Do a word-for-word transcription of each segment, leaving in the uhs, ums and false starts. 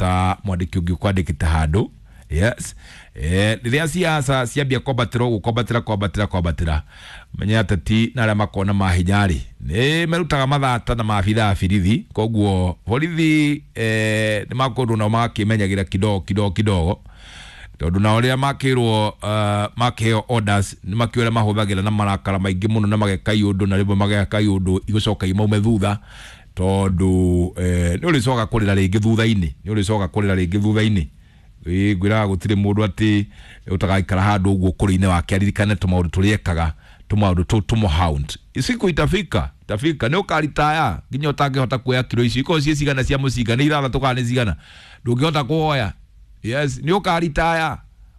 ta mwandĩki ũngĩ ũkwandĩkĩte handũ. Yes, eh rĩrĩa siasa ciambia kwambatĩra ũguo, kwambatĩra kwambatĩra kwambatĩra, menya ateti na arĩa makona mahinya rĩ nĩ merutaga mathata na maabithaa a borithi. Koguo borithi eh, nĩ makũndũ nao magakĩmenyagĩra kidogo kidogo kidogo, tondũ nao rĩrĩa makĩrwo uh, makĩheo orders nĩ makĩũĩ ũrĩa mahũthagĩra na marakara maingĩ mũno, na mageka iũndũ na rĩmwe mageka iũndũ igũcoka imaume thutha, tondũ eh, nĩ ũrĩcoka kũrĩra rĩngĩ thutha-inĩ, nĩ ũrĩcoka kũrĩra rĩngĩ thutha-inĩ. Ĩĩ, ngwĩraga gũtirĩ mũndũ atĩ ũtagaikara handũ ũguo ũkũrũ-inĩ wake aririkane tũmaũndũ tũrĩa ekaga, tũmaũndũ tũu tũmũhound. Siku itafika, itafika nĩ ũkaritaya nginya ũtangĩhota kuoya kiro icio ikorwo ciĩ cigana cia mũcinga, nĩ ithathatũ kana nĩ cigana, ndũngĩhota kuoya. Yes, nĩ ũkaritaya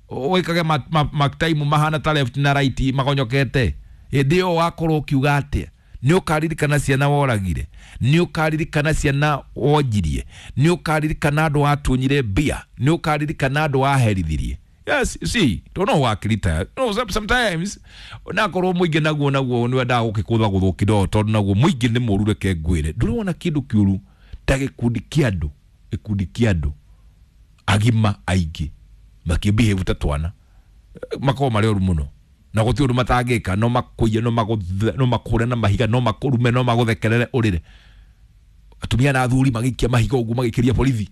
wĩkage ma, ma, ma time mahana ta left na right magonyokete. Hĩndĩ ĩyo wakorwo ũkiuga atĩa? Nĩ ũkaririkana ciana woragire, nĩ ũkaririkana ciana wonjirie, nĩ ũkaririkana andũ watunyire mbia, nĩ ũkaririkana andũ waherithirie. Yes, you see, don't know wakirita. No, sometimes nakorwo mũingĩ naguo naguo nĩ wendaga gũkĩkũtha gũthwo kidogo, tondũ naguo mũingĩ nĩ mũru. Reke ngwĩre, ndũrĩ wona kĩndũ kĩũru ta gĩkundi kĩa andũ, gĩkundi kĩa andũ agima aingĩ makĩbehave ta twana, makoragwo marĩ oru mũno na gũtirĩ ũndũ matangĩka. No makũiye, no magũthe, no makũre na mahiga, no makũrume, no magũthekerere ũrĩre. Atumia na athuri magĩikia mahiga ũguo magĩkĩria borithi,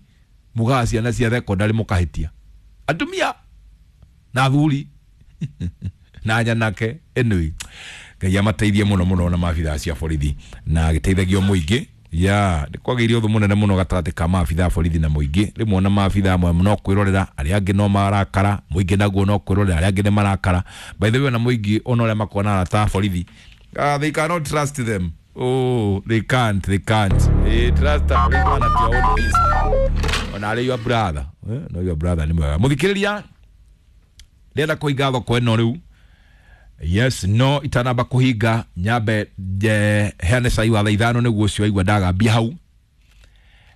mugaga ciana cia thekondarĩ mũkahĩtia atumia na athuri na nyanake. Anyway, Ngai amateithie mũno mũno na maabithaa cia borithi na gĩteithagio mũingĩ ya nĩ kwagĩire ũthũ mũnene mũno gatagatĩ ka maabithaa borithi na mũingĩ. Rĩmwe ona maabithaa amwe no kwĩrorera, arĩa angĩ no marakara, mũingĩ naguo no kwĩrorera, arĩa angĩ nĩ marakara. By the way, ona mũingĩ ona ũrĩa makoragwo na arata a borithi, uh, they cannot trust them. Oh, they can't, they can't. Eh, trust a policeman at your own risk. Ona arĩ your brother, eh, no your brother nĩ mwega. Mũthikĩrĩria, ndĩrenda kũhinga thoko ĩno rĩu. Yes, no itanamba kũhinga nyambe nje heane cai wa thaa ithano, nĩguo ũcio waigua ndagambia hau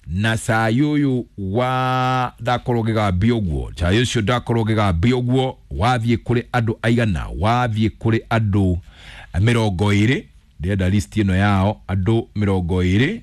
na cai ũyũ wa ndakorwo ngĩgambia ũguo, cai ũcio ndakorwo ngĩgambia ũguo wathiĩ kũrĩ andũ aigana? Wathiĩ kũrĩ andũ mĩrongo ĩrĩ. Ndĩrenda list ĩno yao, andũ mĩrongo ĩrĩ.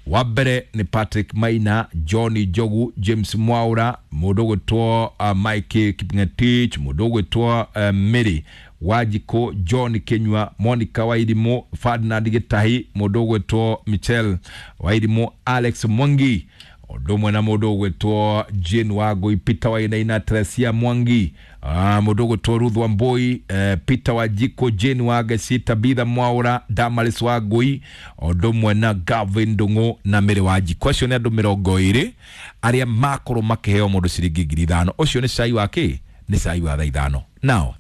Wa mbere nĩ Patrick Maina, John Njogu, James Mwaura, mũndũ ũgwĩtwo uh, Mike Kipngetich, mũndũ ũgwĩtwo uh, Mary Wanjikũ, John Kinyua, Monica Wairimũ, Ferdinand Gĩtahi, mũndũ ũgwĩtwo Michel Wairimũ, Alex Mwangi, ũndũ ũmwe na mũndũ ũgwĩtwo Jane Wangui, Peter Wainaina, Teresia Mwangi, uh, mũndũ ũgwĩtwo Ruth Wambui, uh, Peter Wanjikũ, Jane Wangeci, Tabitha Mwaura, Damaris Wangui, ũndũ ũmwe na Gavin Ndung'u na Mary Wanjikũ. Acio nĩ andũ mĩrongo ĩrĩ arĩa makorwo makĩheo mũndũ ciringi ngiri ithano. Ũcio nĩ cai wa kĩ? Nĩ cai wa thaa ithano. Now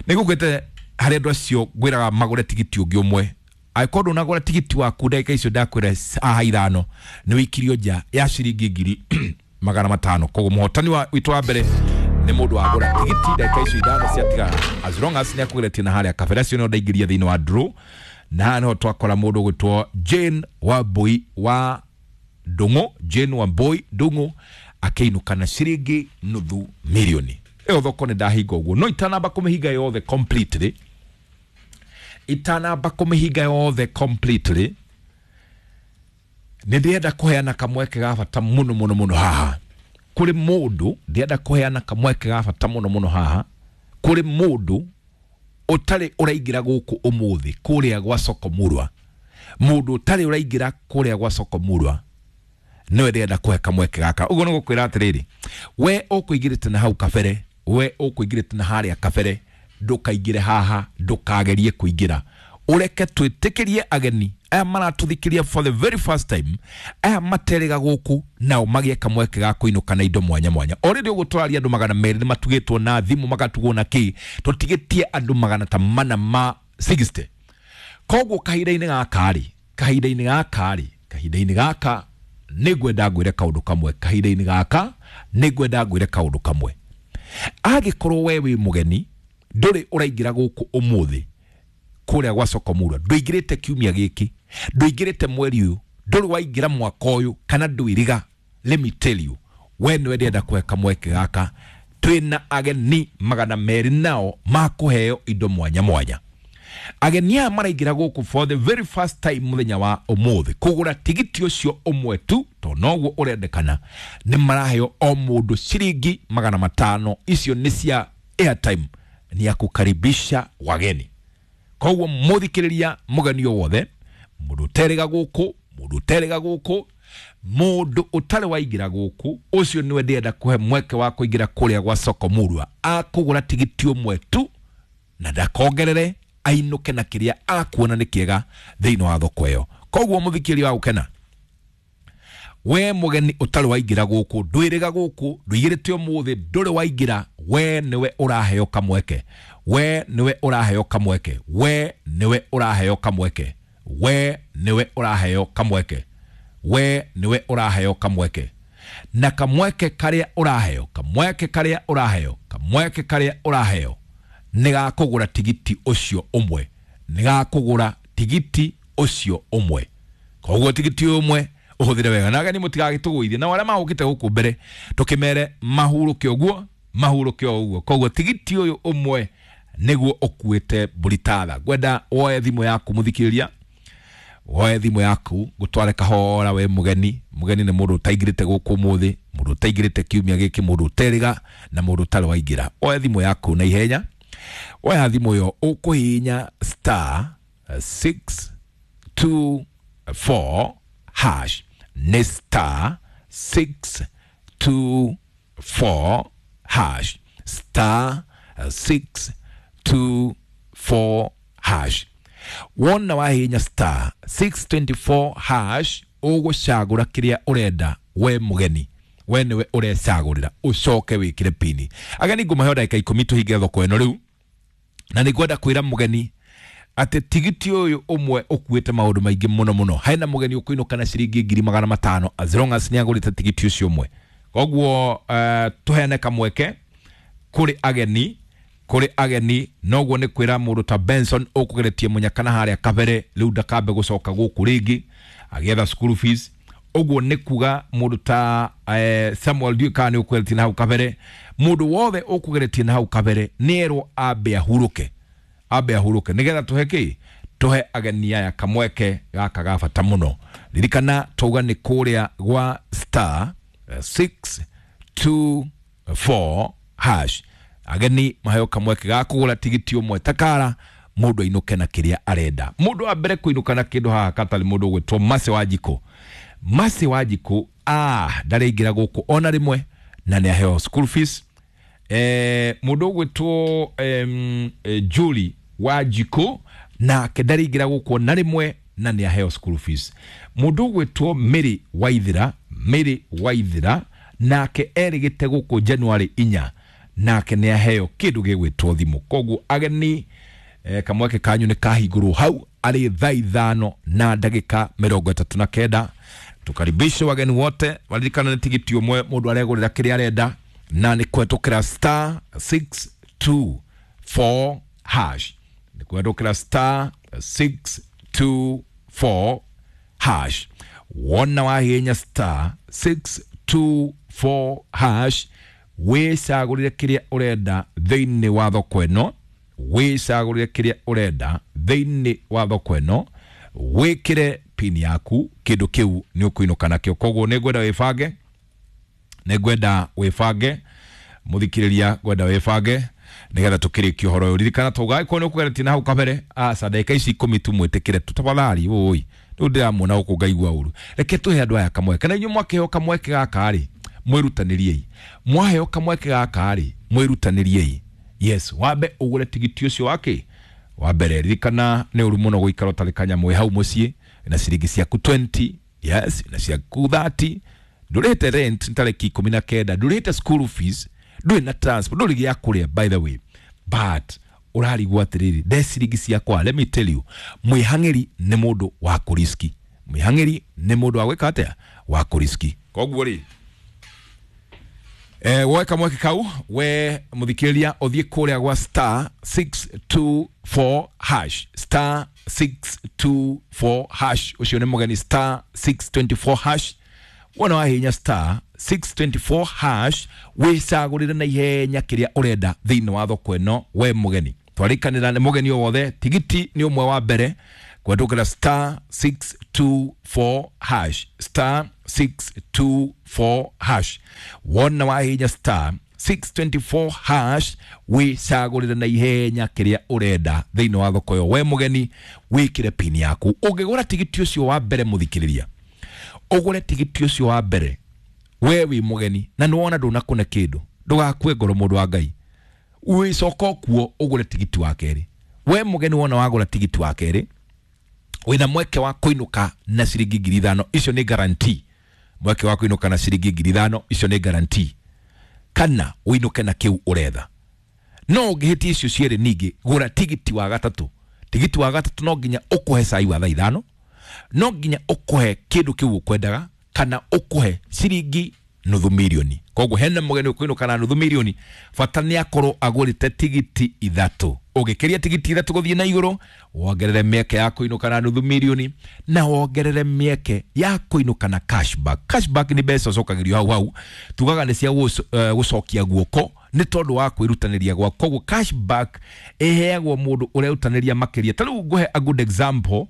nĩ ngũkwĩte harĩ andũ acio ngwĩraga magũre tigiti ũngĩ ũmwe. Angĩkorwo ndũnagũra tigiti waku ndagĩka icio ndakwĩra haha ithano, nĩ wĩikirio nja ya ciringi ngiri magana matano. Koguo mũhotani wa witũ wa mbere nĩ mũndũ wagũra tigiti ndagĩka icio ithano ciatigara, as long as nĩ akũgeretie na harĩa kabere. Acio nĩo ndaingĩria thĩinĩ wa draw, na haha nĩho twakora mũndũ ũgwĩtwo Jane Wambui wa Ndung'u, Jane Wambui Ndung'u akĩinũka na ciringi nuthu milioni. Ĩyo thoko nĩ ndahinga ũguo, no itanamba kũmĩhinga yothe completely, itanamba kũmĩhinga yothe completely, nĩ ndĩrenda kũheana kamweke ga bata mũno mũno mũno haha kũrĩ mũndũ. Ndĩrenda kũheana kamweke ga bata mũno mũno haha kũrĩ mũndũ ũtarĩ ũraingĩra gũkũ ũmũthĩ kũrĩa gwa soko murwa. Mũndũ ũtarĩ ũraingĩra kũrĩa gwa soko murwa nĩwe ndĩrenda kũhe kamweke gaka. Ũguo nĩ gũkwĩra atĩrĩrĩ, we ũkũingĩrĩte na hau kabere, we ũkũingĩrĩte na harĩa kabere, ndũkaingĩre haha, ndũkagerie kũingĩra. Ũreke twĩtĩkĩrie ageni aya maratũthikĩria for the very first time, aya materega gũkũ, nao magĩe kamweke ga kũinũka na indo mwanya mwanya. Already ũguo tũraria andũ magana merĩ nĩ matugĩtwo na thimũ, magatugwo na kĩ. Tũtigĩtie andũ magana ta mana ma sixty. Koguo kahinda-inĩ gaka rĩ, kahinda-inĩ gaka rĩ, kahinda-inĩ gaka nĩ ngwenda ngwĩre kaũndũ kamwe. Kahinda-inĩ gaka nĩ ngwenda ngwĩre kaũndũ kamwe. Angĩkorwo we wĩ mũgeni, ndũrĩ ũraingĩra gũkũ ũmũthĩ kũrĩa gwa soko murwa, ndũingĩrĩte kiumia gĩkĩ, ndũingĩrĩte mweri ũyũ, ndũrĩ waingĩra mwaka ũyũ, kana ndwĩriga, let me tell you, we nĩwe ndĩrenda kũhe kamweke gaka. Twĩna ageni magana merĩ nao makũheo indo mwanya mwanya. Ageni aya maraingĩra gũkũ for the very first time mũthenya wa ũmũthĩ kũgũra tigiti ũcio ũmwe tu, tondũ noguo ũrendekana, nĩ maraheo o mũndũ ciringi magana matano. Icio nĩ cia airtime, ni ya kukaribisha wageni. Koguo mũthikĩrĩria, mũgeni o wothe, mũndũ ũterĩga gũkũ, mũndũ ũterĩga gũkũ, mũndũ ũtarĩ waingĩra gũkũ, ũcio nĩwe ndĩrenda kũhe mweke wa kũingĩra kũrĩa gwa soko murwa, akũgũra tigiti ũmwe tu na ndakongerere, ainũke na kĩrĩa akuona nĩ kĩega thĩinĩ wa thoko ĩyo. Koguo mũthikĩrĩria wa gũkena, we mũgeni ũtarĩ waingĩra gũkũ, ndwĩrĩga gũkũ, ndũigĩrĩte ũmũthĩ, ndũrĩ waingĩra, we nĩwe ũraheo kamweke, we nĩwe ũraheo kamweke, we nĩwe ũraheo kamweke, we nĩwe ũraheo kamweke, we nĩwe ũraheo kamweke. Na kamweke karĩa ũraheo, kamweke karĩa ũraheo, kamweke karĩa ũraheo nĩ gakũgũra tigiti ũcio ũmwe, nĩ gakũgũra tigiti ũcio ũmwe. Koguo tigiti ũmwe ũhũthĩre wega, na ageni mũtigagĩtũgũithie, na arĩa magũkĩte gũkũ mbere tũkĩmere mahurũke ũguo, mahurũke o ũguo. Koguo tigiti ũyũ ũmwe nĩguo ũkuĩte mbũri tatha. Ngwenda woe thimũ yaku mũthikĩrĩria, woe thimũ yaku ngũtware kahora. We mũgeni, mũgeni nĩ mũndũ ũtaingĩrĩte gũkũ ũmũthĩ, mũndũ ũtaingĩrĩte kiumia gĩkĩ, mũndũ ũterĩga na mũndũ ũtarĩ waingĩra. Oe thimũ yaku na ihenya, woya thimũ ĩyo ũkũhihinya star six two four hash, nĩ star six two four hash, star six two four hash. Wona wahihinya star six twenty-four hash, ũgũcagũra kĩrĩa ũrenda we mũgeni, we nĩwe ũrecagũrĩra, ũcoke wĩkĩre pini. Ageni ngũmahe ndagĩka ikũmi tũhinge thoko ĩno rĩu, na nĩ ngwenda kwĩra mũgeni atĩ tigiti ũyũ ũmwe ũkuĩte maũndũ maingĩ mũno mũno. Hena mũgeni ũkũinũka na ciringi ngiri magana matano as long as nĩ agũrĩte tigiti ũcio ũmwe. Koguo uh, tũheane kamweke kũrĩ ageni, kũrĩ ageni. Noguo nĩ kwĩra mũndũ ta Benson ũkũgeretie mũnyaka na harĩa kabere, rĩu ndakambe gũcoka gũkũ rĩngĩ agĩetha school fees. Ũguo nĩ kuga mũndũ ta eh, Samuel ndiũĩ kana nĩ ũkũgeretie na hau kabere, mũndũ wothe ũkũgeretie na hau kabere nĩ erwo ambe ahurũke, ambe ahurũke, nĩgetha tũhe kĩ, tũhe ageni aya kamweke gaka ga bata mũno. Ririkana twauga nĩ kũrĩa gwa star six two four hash. Ageni maheo kamweke ga kũgũra tigiti ũmwe takara, mũndũ ainũke na kĩrĩa arenda. Mũndũ wa mbere kũinũka na kĩndũ haha katarĩ mũndũ ũgwĩtwo Mercy Wanjikũ. Mercy Wanjikũ ah ndarĩingĩra gũkũ ona rĩmwe na nĩ aheo school fees. Eh, mũndũ ũgwĩtwo em, eh, Julie Wanjikũ nake ndarĩingĩra gũkũ ona rĩmwe na nĩ aheo school fees. Mũndũ ũgwĩtwo Mary Waithira, Mary Waithira nake erĩgĩte gũkũ January inya nake nĩ aheo kĩndũ gĩgwĩtwo thimũ. Koguo ageni eh, kamweke kanyu nĩ kahingũrwo hau arĩ thaa ithano na ndagĩka mĩrongo ĩtatũ na kenda. Tukaribishe wageni wote, waririkana nĩ tigiti ũmwe mũndũ aregũrĩra kĩrĩa arenda, na nĩ kũhetũkĩra star six two four hash, nĩ kũhetũkĩra star six two four hash. Wona wahihinya star six two four hash, wĩcagũrĩre kĩrĩa ũrenda thĩinĩ wa thoko ĩno, wĩcagũrĩre kĩrĩa ũrenda thĩinĩ wa thoko ĩno, wĩkĩre pini yaku, kĩndũ kĩu nĩ ũkũinũka nakĩo. Koguo nĩ ngwenda wĩbange, nĩ ngwenda wĩbange mũthikĩrĩria, ngwenda wĩbange nĩgetha tũkĩrĩkie ũhoro ũyũ. Ririkana twauga angĩkorwo nĩ ũkũgeretie na hau kabere, aca ndagĩka ici ikũmi tu mwĩtĩkĩre tu tafadhali. Ũĩ rĩu ndĩramuona gũkũ ngaigua ũru, reke tũhe andũ aya kamweke. Na inyuĩ mwakĩheo kamweke gaka rĩ, mwĩrutanĩriei. Mwaheo kamweke gaka rĩ, mwĩrutanĩriei. Yes, wambe ũgũre tigiti ũcio wake wa mbere. Ririkana nĩ ũru mũno gũikara ũtarĩ kanyamũ wĩ hau mũciĩ na ciringi ciaku twenty, yes, na ciaku thirty, ndũrĩhĩte rent tarĩki ikũmi na kenda, ndũrĩhĩte school fees, ndũrĩ na transport, ndũrĩ gĩa kũrĩa by the way, but ũrarigwo atĩrĩrĩ, nde ciringi ciakwa. Let me tell you, mwĩhang'ĩri nĩ mũndũ wa kũriski, mwĩhang'ĩri nĩ mũndũ wa gwĩka atĩa, wa kũriski. Koguo rĩ eh, woe kamweke kau we mũthikĩrĩria, ũthiĩ kũrĩa gwa star six two four hash, star six two four hash. Ũcio nĩ mũgeni, star six twenty-four hash. Wona wahihinya star six twenty-four hash, wĩcagũrĩre na ihenya kĩrĩa ũrenda thĩinĩ wa thoko ĩno we mũgeni. Twarĩkanĩra nĩ mũgeni o wothe, tigiti nĩ ũmwe wa mbere kwendũkĩra star six two four hash, star six two four hash. Wona wahinya star six twenty four hash wicagũrĩre na ihenya kĩrĩa ũrenda thĩinĩ wa thoko ĩyo. We mũgeni wĩkĩre pin yaku. Ũngĩgũra tigiti ũcio wa mbere mũthikĩrĩria, ũgũre tigiti ũcio wa mbere we wĩ mũgeni na nĩwona ndũnakũne kĩndũ, ndũgakue ngoro mũndũ wa Ngai, wĩcoka kuo ũgũre tigiti wa kerĩ. We mũgeni wona wagũra tigiti wa kerĩ wĩna mweke wa kũinũka na ciringi ngiri ithano, icio nĩ guarantee. Mweke wa kũinũka na ciringi ngiri ithano, icio nĩ guarantee, kana ũinũke na kĩu ũretha. No ũngĩhĩtia icio cierĩ ningĩ gũra tigiti wa gatatũ. Tigiti wa gatatũ no nginya ũkũhe cai wa thaa ithano, no nginya ũkũhe kĩndũ kĩu ũkwendaga, kana ũkũhe ciringi nuthu milioni. Koguo hena mũgeni ũkũinũka na nuthu milioni, bata nĩ akorwo agũrĩte tigiti ithatũ. Ũngĩkĩria tigiti ithatũ gũthiĩ na igũrũ, wongerere mĩeke ya kũinũka na nuthu milioni, na wongerere mĩeke ya kũinũka na cashback. Cashback nĩ mbeca ũcokagĩrio hau hau, tugaga nĩ cia gũcokia guoko nĩ tondũ wa kwĩrutanĩria gwa. Koguo cashback ĩheagwo mũndũ ũrerutanĩria makĩria. Ta rĩu ngũhe a good example.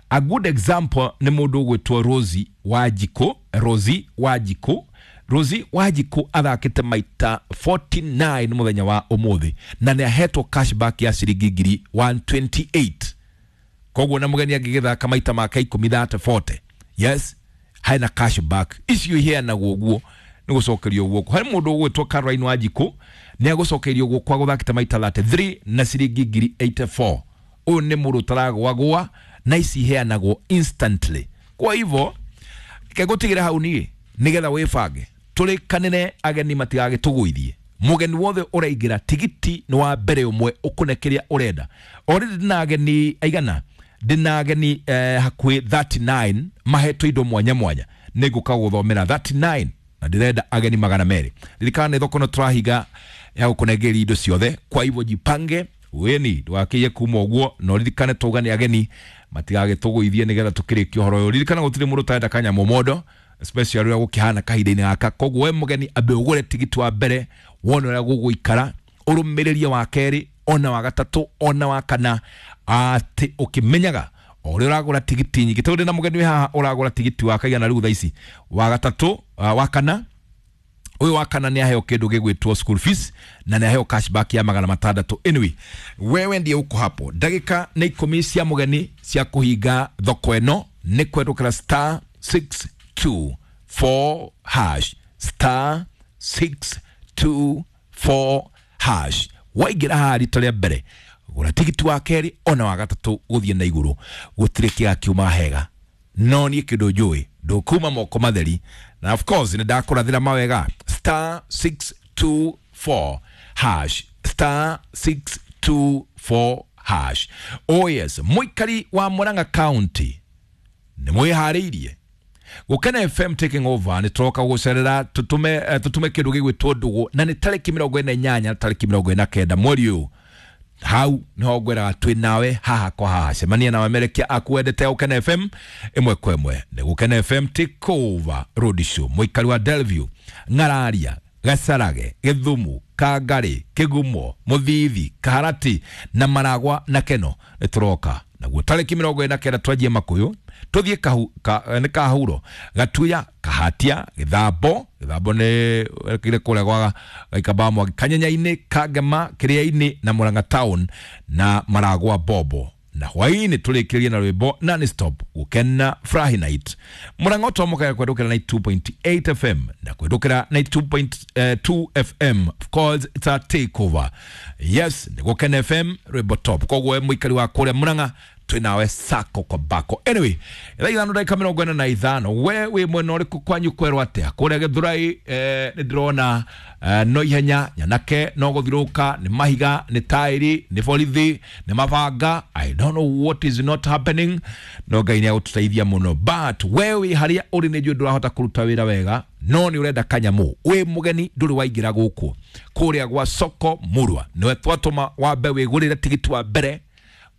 A good example nĩ mũndũ ũgwĩtwo Rosie Wanjikũ. Rosie Wanjikũ, Rosie Wanjikũ athakĩte maita forty nine mũthenya wa ũmũthĩ na nĩ ahetwo cashback ya ciringi ngiri one twenty eight. Koguo na mũgeni angĩgĩthaka maita make ikũmi thate forty, yes, hena cashback icio iheanagwo ũguo nĩ gũcokerio guoko. Harĩ mũndũ ũgwĩtwo Caroline Wanjikũ nĩ agũcokerio guoko agũthakĩte maita thirty three na ciringi ngiri eighty four. Ũyũ nĩ mũndũ ũtaragwagwa na ici iheanagwo instantly. Kwa hivyo kegũtigĩra hau niĩ nĩgetha wĩbange tũrĩkanĩre ageni matigagĩtũgũithie. Mũgeni wothe ũraingĩra tigiti nĩ wa mbere ũmwe ũkũne kĩrĩa ũrenda. Already ndĩna ageni aigana, ndĩna ageni eh, hakuhĩ thirty nine mahetwo indo mwanya mwanya, nĩngũka gũthomera thirty nine na ndĩrenda ageni magana merĩ. Ririkana nĩ thoko no tũrahinga ya gũkũnengeria indo ciothe, kwa hivyo jipange weni ndũgakĩiye kuma ũguo, na ũririkane tauga nĩ ageni matigagĩtũgũithie nĩgetha tũkĩrĩkie ũhoro ũyũ. Ririkana gũtirĩ mũndũ ũtarenda kanyamũ mondo, especially ũrĩa gũkĩhana kahinda-inĩ gaka. Koguo we mũgeni ambe ũgũre tigiti wa mbere wone ũrĩa gũgũikara, ũrũmĩrĩrie wa kerĩ ona wa gatatũ ona wa kana, atĩ ũkĩmenyaga o ũrĩa ũragũra tigiti nyingĩ. Tondũ ndĩna mũgeni wĩ haha ũragũra tigiti wa kaigana rĩu thaa ici, wa gatatũ, wa kana. Ũyũ wa kana nĩ aheo kĩndũ gĩgwĩtwo school fees na nĩ aheo cashback ya magana matandatũ. Anyway, wewe ndiye uko hapo. Ndagĩka nĩ ikũmi cia mũgeni cia kũhinga thoko ĩno nĩ kwendũkĩra star six two four hash, star six two four hash. Waingĩra haha rita rĩa mbere gũra tigiti wa kerĩ ona wa gatatũ gũthiĩ na igũrũ, gũtirĩ kĩgakiuma hega. No niĩ kĩndũ njũĩ ndũkuma moko matheri, na of course nĩ ndakũrathĩra mawega. Star six two four hash, star six two four hash. Oh yes, mũikari wa Murang'a County nĩ mwĩharĩirie Gũkena F M taking over. Nĩ tũroka gũcerera tũtũme tũtũme kĩndũ gĩgwĩtwo ndũgũ, na nĩ tarĩki mĩrongo ĩna inyanya tarĩki mĩrongo ĩna kenda mweri ũyũ. Hau nĩho ngwĩraga twĩ nawe haha kwa haha, cemania na amerekia aku wendete Gũkena F M ĩmwe kwa ĩmwe. Nĩ Gũkena F M take over road show. Mũikari wa Delview, Ng'araria, Gacarage, Gĩthumu, Kangari, Kĩgumo, Mũthithi, Kaharati na Maragwa na Keno nĩ tũroka naguo tarĩki mĩrongo ĩna kenda twanjie Makũyũ, tũthiĩ kahu, ka, nĩ Kahuro, Gatuya, Kahatia, Gĩthambo, Gĩthambo nĩ kĩrĩa kũrĩa gwa Gaikamba Mwangi, Kanyenya-inĩ, Kangema, Kĩrĩa-inĩ na Murang'a Town na Maragwa Bobo. Na hwaĩ-inĩ tũrĩkĩrĩrie na rwĩmbo non stop Gũkena Furahi Night. Murang'a twamũkaga kwendũkĩra ninety two point eight F M na kwendũkĩra ninety two point two F M. Of course it's a takeover. Yes, nĩ Gũkena F M rwĩmbo top. Koguo we mũikari wa kũrĩa Murang'a twĩ nawe sako kwa bako. Anyway, thaa ithano ndagĩka mĩrongo ĩna na ithano. We wĩ mwena ũrĩkũ kwanyu kwerwo atĩa? Kũrĩa Gĩthurai eh, nĩ ndĩrona eh, no ihenya nyanake no gũthirũka, nĩ mahiga, nĩ taĩri, nĩ borithi, nĩ mabanga. I don't know what is not happening, no Ngai nĩ agũtũteithia mũno. But we wĩ harĩa ũrĩ nĩ njũĩ ndũrahota kũruta wĩra wega, no nĩ ũrenda kanyamũ, wĩ mũgeni ndũrĩ waingĩra gũkũ kũrĩa gwa soko Murwa, nĩwe twatũma wambe wĩgũrĩre tigiti wa mbere,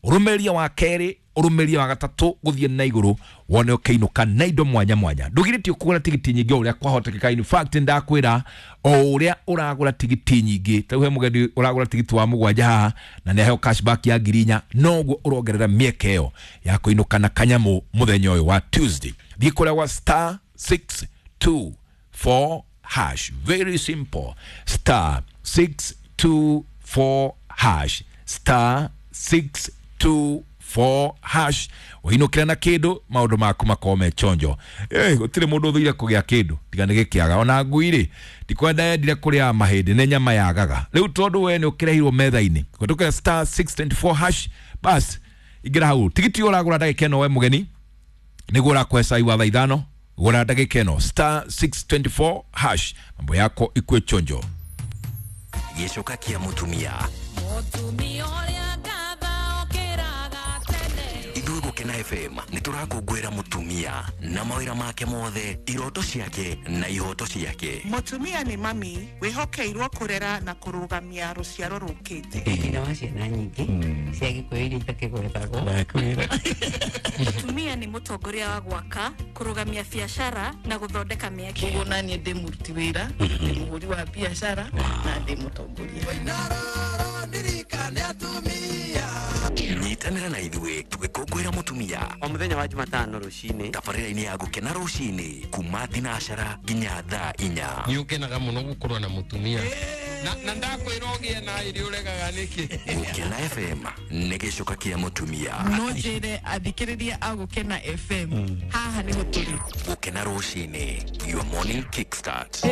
ũrũmĩrĩrie wa kerĩ, Ũrũmĩrie wa gatatũ gũthiĩ na igũrũ wone ũkĩinũka na indo mwanya mwanya. Ndũgirĩtio kũgũra tigiti nyingĩ o ũrĩa kwahotekeka. In fact, ndakwĩra o ũrĩa ũragũra tigiti nyingĩ, ta rĩu he mũgeni ũragũra tigiti wa mũgwanja haha na nĩ aheo cashback ya ngiri inya, noguo ũrongerera mĩeke ĩyo ya kũinũka na kanyamũ mũthenya ũyũ wa Tuesday. Thiĩ kũrĩa gwa star six two four hash, very simple, star six two four hash, star six two four hash, ũinũkĩra na kĩndũ, maũndũ maku makorwo me chonjo. Eh, gũtirĩ mũndũ ũthũire kũgĩa kĩndũ tiga nĩ gĩkĩaga. Ona ngui rĩ, ndikwenda yendire kũrĩa mahĩndĩ, nĩ nyama yagaga. Rĩu tondũ we nĩ ũkĩrehirwo metha-inĩ kũhetũkĩra star six twenty four hash, bas ingĩra hau. Tigiti ũyũ ũragũra ndagĩka ĩno we mũgeni nĩguo ũrakũhe cai wa thaa ithano. Gũra ndagĩka ĩno star six twenty four hash, mambo yako ikue chonjo. Gĩcoka kĩa mũtumia. Mũtumia ũrĩa ngatha okĩraga tene. Ithuĩ Gũkena F M nĩ tũrakũngũĩra mũtumia na mawĩra make mothe, iroto ciake na ihoto ciake. Mũtumia nĩ mami wĩhokeirwo kũrera na kũrũgamia rũciaro rũkĩte. Nyina wa ciana nyingĩ cia Gĩkũyũ iria itakĩgwetagwo. Mũtumia nĩ mũtongoria wa gwaka, kũrũgamia biacara na gũthondeka mĩeke. Koguo naniĩ ndĩ mũruti wĩra, ndĩ mũhũri wa biacara na ndĩ mũtongoria. Nyitanĩra na ithuĩ tũgĩkũngũĩra mũtumia o mũthenya wa Jumatano rũcinĩ, tabarĩra-inĩ ya Gũkena rũcinĩ kuma thinacara nginya thaa inya. Nĩ ũkenaga mũno gũkorwo na mũtumia na, na ndakwĩra ũgĩe na irio ũregaga nĩkĩ. Gũkena F M nĩ gĩcoka kĩa mũtumia. No njĩre athikĩrĩria a Gũkena F M, haha nĩho tũrĩ. Gũkena rũcinĩ, your morning kickstart.